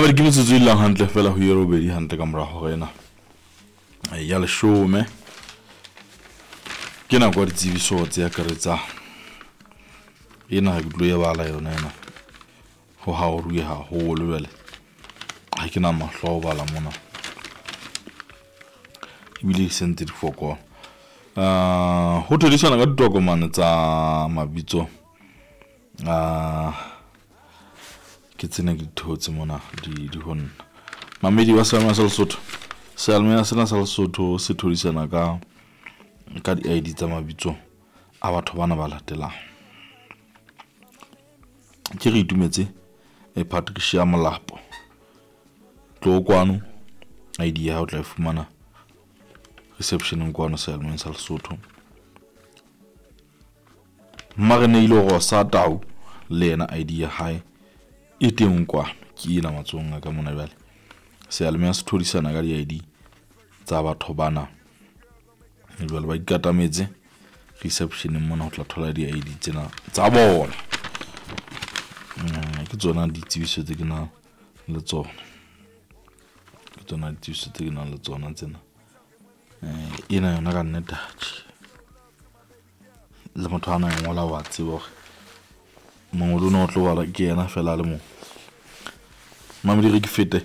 Mamedi, ke metsotso e llang hantle fela ho ye robedi hantle ka mora hora ena ya leshome. Ke nako ya ditsebiso tse akaretsang. Ena ha ke tlo e bala yona ena. Ho haoruwe haholo jwale. Ha ke na mahlo a ho bala mona. Ebile e sentse di fokola. Ho thodisana ka ditokomane tsa mabitso a ke tsena ke di theotse mona di ho nna. Mamedi wa Seyalemoya sa Lesotho. Seyalemoya sena sa Lesotho se thodisana ka di-ID tsa mabitso a batho bana ba latelang. Ke re itumetse Patricia Molapo. Tlo kwano ID ya hao tla e fumana receptioneng kwano Seyalemoyeng sa Lesotho. Mmareneile Rosa Tau le yena ID ya hae e teng kwano, ke ena matsohong a ka mona jwale. Seyalemoya se thodisana ka di-ID tsa batho bana. Jwale ba ikatametse receptioneng mona ho tla thola di-ID tsena tsa bona. Ke tsona ditsebiso tse ke nang le tsona. Ke tsona ditsebiso tse ke nang le tsona tsena. Ena yona ka nnete atjhe. Le motho a na e ngola wa tseba hore mongolo ona o tlo bala ke yena fela a le mong. Mamedi re ke fete.